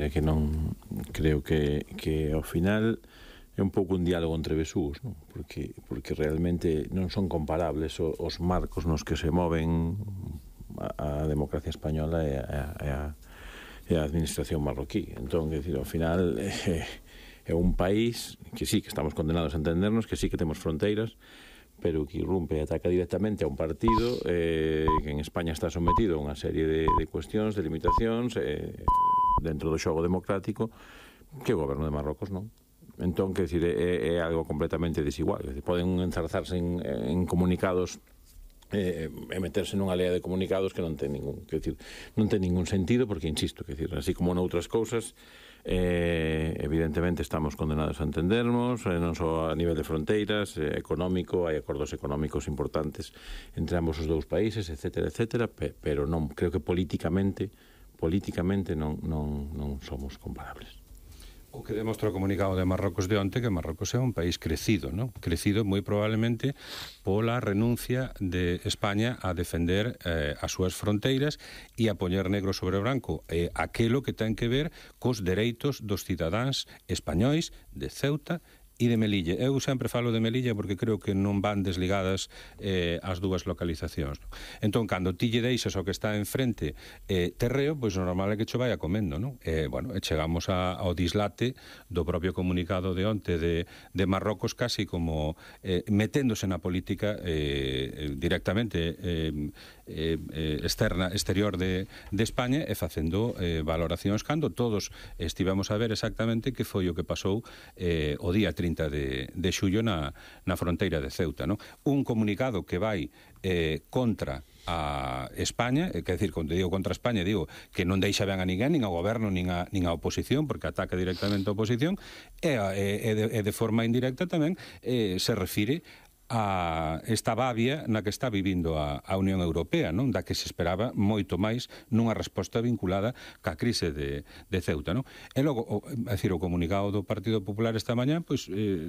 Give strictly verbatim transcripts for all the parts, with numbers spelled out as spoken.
decir, é que non creo que, que ao final é un pouco un diálogo entre besús, non? Porque, porque realmente non son comparables os, os marcos nos que se moven a, a democracia española e a, e a, e a administración marroquí. Entón, é dicir, ao final é, é un país que sí, que estamos condenados a entendernos, que sí que temos fronteiras, pero que irrumpe e ataca directamente a un partido eh, que en España está sometido a unha serie de, de cuestións, de limitacións eh, dentro do xogo democrático que o goberno de Marrocos non. Entón, que decir, é, é algo completamente desigual. Decir, poden enzarzarse en, en comunicados eh, e meterse nunha lea de comunicados que non ten ningún, que decir, non ten ningún sentido, porque, insisto, que decir, así como noutras cousas, eh, evidentemente estamos condenados a entendernos, eh, non só a nivel de fronteiras, eh, económico, hai acordos económicos importantes entre ambos os dous países, etcétera, etcétera, pe, pero non, creo que políticamente, políticamente non, non, non somos comparables. O que demostra o comunicado de Marrocos de onte, que Marrocos é un país crecido, ¿no? Crecido moi probablemente pola renuncia de España a defender eh, as súas fronteiras e a poñer negro sobre branco eh, aquelo que ten que ver cos dereitos dos cidadáns españois de Ceuta e de Melilla. Eu sempre falo de Melilla porque creo que non van desligadas eh, as dúas localizacións. Entón, cando ti lle deixas o que está enfrente eh, terreo, pois o normal é que cho vai a comendo, non? Eh, bueno, chegamos a, ao dislate do propio comunicado de onte de, de Marrocos, casi como eh, meténdose na política eh, directamente eh, eh, externa, exterior de, de España e facendo eh, valoracións cando todos estivemos a ver exactamente que foi o que pasou eh, o día trinta de, de xullo na, na fronteira de Ceuta, non? Un comunicado que vai eh, contra a España, quer decir, cando digo contra España, digo que non deixa ben a ninguén, nin ao goberno, nin a, nin a oposición, porque ataca directamente a oposición, e, e, e, de, e de forma indirecta tamén eh, se refire a esta babia na que está vivindo a, a Unión Europea, non? Da que se esperaba moito máis nunha resposta vinculada ca crise de, de Ceuta, non? E logo, o, é dicir, o comunicado do Partido Popular esta mañá, pois, eh,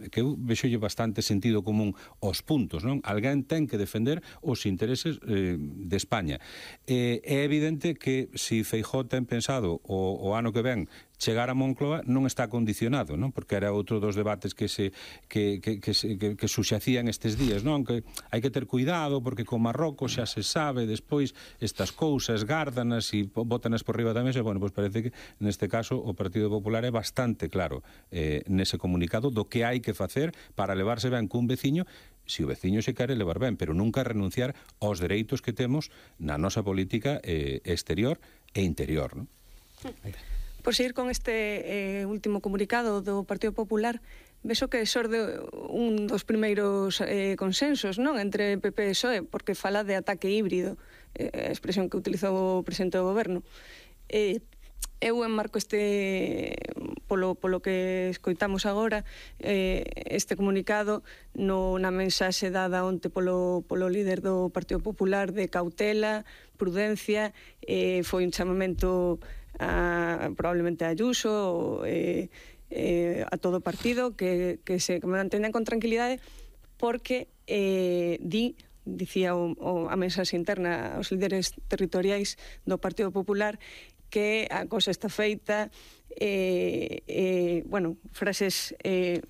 que eu vexolle bastante sentido común aos puntos, non? Alguén ten que defender os intereses eh, de España. Eh, é evidente que se Feijóo ten pensado o, o ano que ven chegar a Moncloa non está condicionado, non? Porque era outro dos debates que se que, que, que, se, que, que suxacían estes días, non? Que hai que ter cuidado porque con Marrocos xa se sabe despois estas cousas gárdanas e bótanas por riba da mesa. Bueno, pois parece que neste caso o Partido Popular é bastante claro eh, nese comunicado do que hai que facer para levarse ben cun veciño, se o veciño se quere levar ben, pero nunca renunciar aos dereitos que temos na nosa política eh, exterior e interior, non? Por seguir con este eh, último comunicado do Partido Popular, vexo que xorde un dos primeiros eh, consensos, non? Entre P P e P S O E, porque fala de ataque híbrido, eh, a expresión que utilizou o presidente do goberno. Eh, eu enmarco este, polo, polo que escoitamos agora, eh, este comunicado no, na mensaxe dada onte polo, polo líder do Partido Popular de cautela, prudencia, eh, foi un chamamento a, probablemente a Ayuso, eh, eh, a todo o partido, que, que se manteñan con tranquilidade, porque eh, di, dicía o, o, a mensaxe interna aos líderes territoriais do Partido Popular, que a cosa está feita, eh, eh, bueno, frases eh,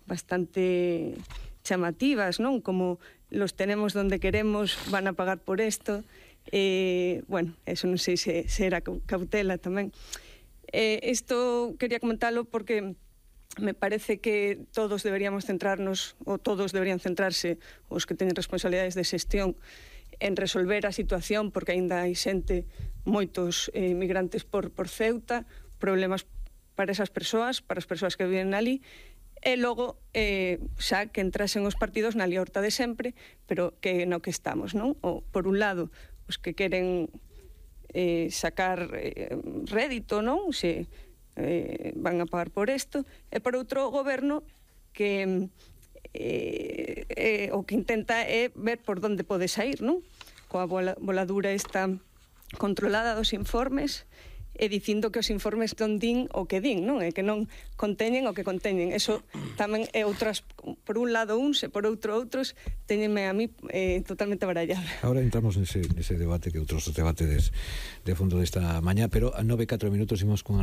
bastante chamativas, non? Como los tenemos donde queremos, van a pagar por esto. Eh, bueno, eso non sei se, se era cautela tamén. Eh, isto quería comentarlo porque me parece que todos deberíamos centrarnos, ou todos deberían centrarse, os que teñen responsabilidades de xestión, en resolver a situación, porque aínda hai xente, moitos eh, migrantes por, por Ceuta, problemas para esas persoas, para as persoas que viven ali, e logo eh, xa que entrasen os partidos na liorta de sempre, pero que no que estamos, non? O, por un lado, os que queren eh, sacar eh, rédito, non? Se eh, van a pagar por isto, e por outro, o goberno que eh, eh, o que intenta é ver por onde pode sair, non? Coa voladura esta controlada dos informes e dicindo que os informes non din o que din, non? E que non conteñen o que conteñen. Eso tamén é outras, por un lado uns e por outro outros, teñenme a mí eh, totalmente barallada. Ahora entramos nese, nese debate que outros debates de fondo desta mañá, pero a nove e catro minutos imos con